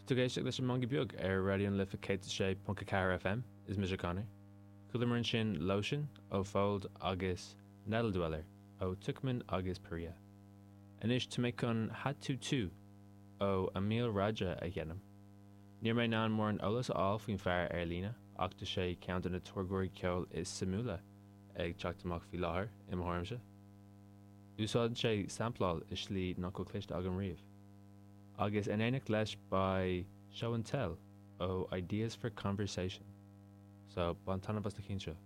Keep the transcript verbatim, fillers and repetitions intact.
Tá tú ag éisteacht leis an Meangadh Beag ar Raidió na Life céad a sé ponc a ceathair FM, is mise Conor. Chualamar ansin Lotion ó Fold agus Nettle Dweller ó Tuckman agus Perea. Anois tá mé chun Had to Two ó Emil Raja a sheinm. Níl mé in ann mórán eolas a fháil faoin fear ar líne ach tá sé ceann de na táirgeoirí ceoil is suimiúla ag teacht amach faoi láthair i mo thuairimse. Úsáideann sé sampláil i slí nach bhfuil cloiste agam riamh. Agus in éineacht leis beidh Show and Tell ó Ideas for Conversation. So bain taitneamh as na cinn seo.